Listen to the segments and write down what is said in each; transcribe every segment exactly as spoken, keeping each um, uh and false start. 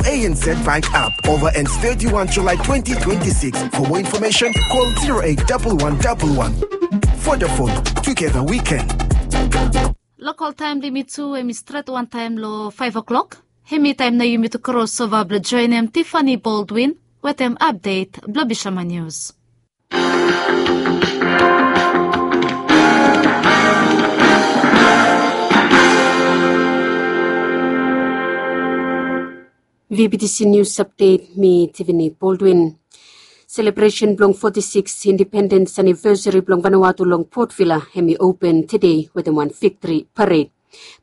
A N Z Bank app over and thirty-one July twenty twenty-six. For more information, call zero eight double one double one. Vodafone, together we can. Lokal taem limit tu hemi stret wantaem lo faef o'klok. Hemi taem nao yumi tu krosova blo joenem Tiffany Baldwin wetem apdet blo Bishama Nius. V B T C Nius Apdet, mi Tiffany Baldwin. Selebresen blong foti sikis indipendens anivesari blong Vanuatu long Port Vila hemi open tede wetem wan viktori pared.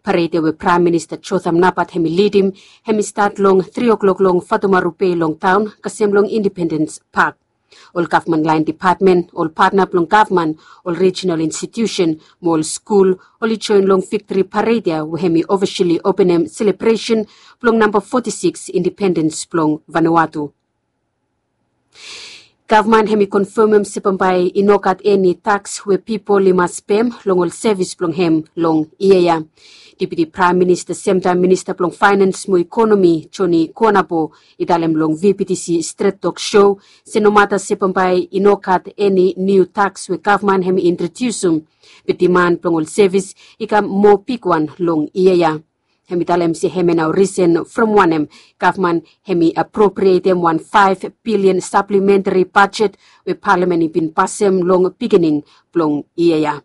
Pared ya we Praem Minista Jotham Napat hemi lidim, hemi stat long tri o'klok long Fatumaru Bei long taon, kasem long Indipendens Pak. Ol gavman laen depatmen, ol patna blong gavman, ol rijinal institiusen mo ol skul, oli joen long viktori pared ya we hemi ofisali openem selebresen blong namba foti sikis indipendens blong Vanuatu. Gavman hemi konfamem se bambae i no gat eni taks we pipol i mas pem long ol sevis blong hem long yia ya. Deputi Praem Minista, semtaem Minista blong Faenans mo Ikonomi, Joni Kuonabo, i talem long V B T C Stret Tok Sho se nomata se bambae i no gat eni niu taks we gavman hemi introdiusum, be diman blong ol sevis i kam moa bigwan long yia ya. Hemi talem se hemia nao risen from wanem gavman hemi apropriatem wan faef bilian saplementari bajet we palamen i bin pasem long bigining blong yia ya.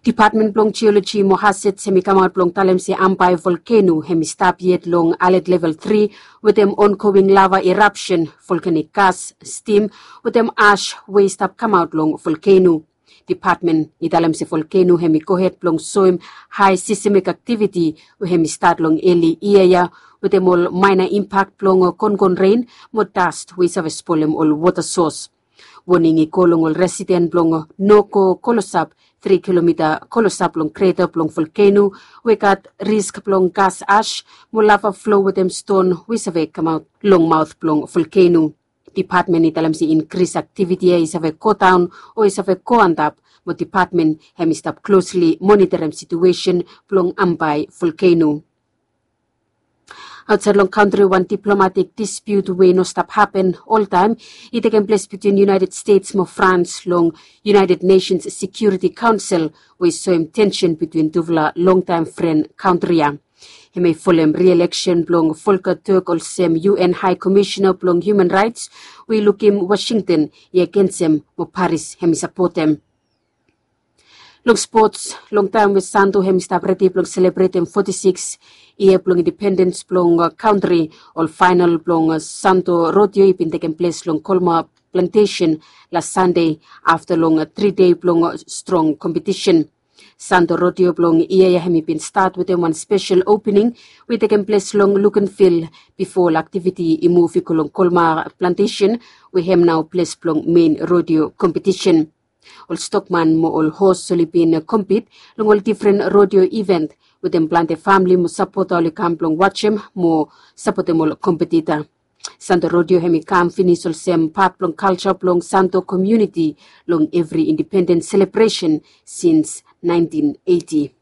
Depatmen blong Jioloji mo Hazats hemi kamaot blong talem se Ambae volkeno hemi stap yet long alet level tri wetem ongoing lava erapsen, volkanik gas, stim wetem ash we i stap kamaot long volkeno. Depatmen i talem se volkeno hemi gohed blong soem hae sismik aktiviti we hemi stat long eli yia ya, wetem ol maena impak blong kongon ren mo das we i save spolem ol wota sos. Woning i go long ol residen blong no go klosap tri kilomita klosap long kreta blong volkeno we i gat risk blong gas ash mo lava flo wetem ston we i save kamaot long maot blong volkeno. Depatmen i talem se inkris aktiviti ya i save godaon o i save go antap, mo depatmen hemi stap klosli monitorem situesen blong Ambae volkeno. Aotsaed long kantri, wan diplomatik dispiut we i no stap hapen oltaem i tekem ples bitwin United States mo Frans long United Nations Security Council we i soem tensen bitwin tufala longtaem fren kantri ya. Hemia i folem rieleksen blong Volker Turk olsem U N High Commissioner blong Human Rights, we i lukim Washington i agensem mo Paris hemi sapotem. Long spots, long taem we Santo hemi stap redi blong selebretem foti sikis yia blong indipendens blong kantri, ol faenol blong Santo Rodeo i bin tekem ples long Colmar Plantation las Sande afta long tri dei blong strong kompetisen. Santo Rodeo blong yia ya hemi bin stat wetem wan spesel opening we i tekem ples long Luganville bifo ol aktiviti i muv i go long Colmar Plantation, we hem nao ples blong mein rodeo kompetisen. Ol stokman mo ol hos oli bin kompit long ol difren rodeo iven wetem plante famle mo sapota oli kam blong wajem mo sapotem ol kompetita. Santo Rodeo hemi kam finis olsem pat blong kalja blong Santo komuniti long evri indipendens selebresen sins naentin eiti.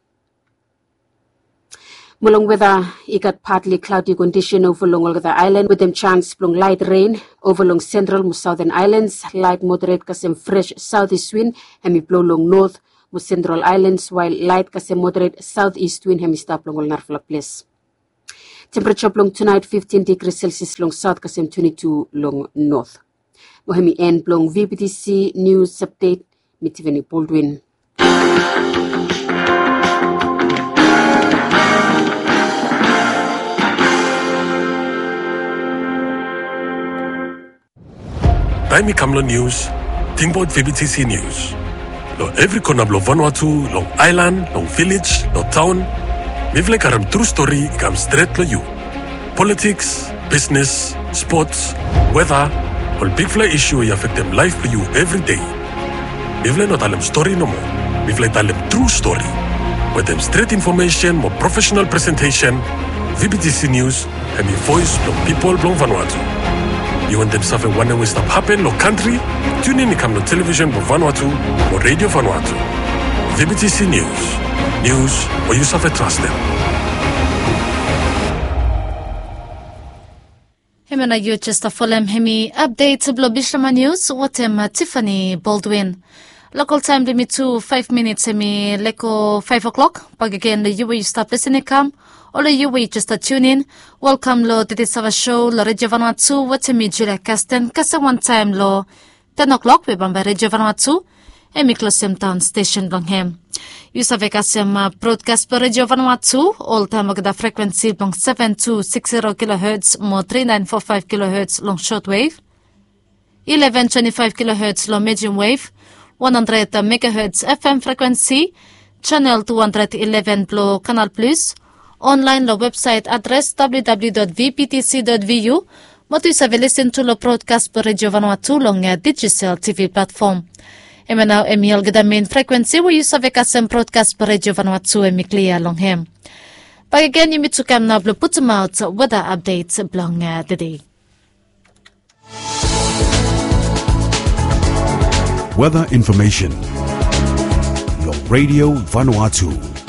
Mo long weta, i gat patli klaodi kondisen ova long olgeta aelan wetem jans blong laet ren ova long sentral mo saoten aelans. Laet moderet kasem fres saotis win hemi blo long not mo sentral aelans, wael laet kasem moderet saotis win hemi stap long ol narafala ples. Tempereja blong tunaet fiftin digri Celsius long saot kasem twenti tu long not. Mo hemi en blong V B T C Nius Apdet. Mi Tiffany Baldwin. Taem i kam long nius, tingbaot V B T C Nius. Long evri kona blong Vanuatu, long aelan, long vilej, long taon, mifala i karem tru stori i kam stret long yu. Politiks, bisnes, spots, weta, ol bigfala isu we i afektem laef blong yu evri dei. Mifala i no talem stori nomo. Mifala i talem tru stori. Wetem stret infomesen mo profesenal presentesen, V B T C Nius hemi voes blong pipol blong Vanuatu. Yu wantem save wanem we i stap hapen long kantri? Tiunin i kam long televisen blong Vanuatu mo Redio Vanuatu. V B T C Nius. Nius we yu save trastem. Mena yu jes folem hemi apdet blong Bishlama Nius wetem Tiffany Baldwin. Lokal taem blong yumi tu, faef minits hemi lego faef o'klok. Bakegen long yu we yu stap lisin i kam, o long yu we yu jes tunin, welkam long Titi Sava Sho long Redio Vanua Tu wetem mi, Julia Kasten, kasem wantaem long ten o'klok we bambae Redio Vanua Tu hemi klosem daon stesen blong hem. Yu save kasem brodkas blong Redio Vanua Tu oltaem olgeta frekwensi blong seven two six zero kilohertz mo three nine four five kilohertz long shortwave, eleven twenty-five kilohertz long medium wave, one hundred megahertz F M frekwensi, channel two hundred eleven blong Canal Plus, online long website adres W W W dot V P T C dot V U, mo tu yu save lisin tu long brodkas blong Redio Vanua Tu long Digicel T V platform. Hemia nao hemi olgeta mein frekwensi we yu save kasem brodkas blong Redio Vanua Tu hemi klia long hem. Bakegen yumi tu kam nao blong putumaot weda apdet blong tede. Weather information. Long Radio Vanuatu.